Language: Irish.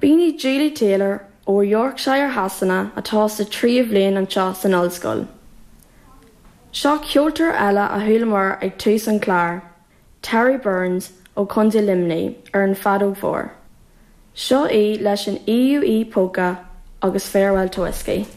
B'in í Julie Taylor ó Yorkshire Shasana atá sa tríú bhliain anseo san ollscoil. Seo ceoltóir eile a chualamar ag tús an chláir, Terry Burns ó Chontae Luimnigh ar an bhfeadóg mhór. Seo í leis an EUE Polka agus Farewell to Whiskey.